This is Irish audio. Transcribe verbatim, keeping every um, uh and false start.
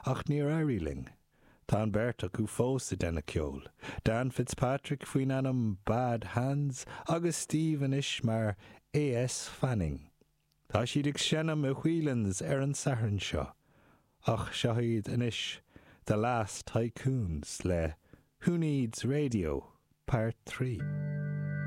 ach níor éirigh linn. Tá an bheirt acu fós ag déanamh ceoil. Dan Fitzpatrick faoin ainm Bad Hands agus Steve anois mar A.S. Fanning. Tá siad ag seinm i Whelan's ar an Satharn seo. Ach seo iad anois The Last Tycoons le Who Needs Radio, Part Three.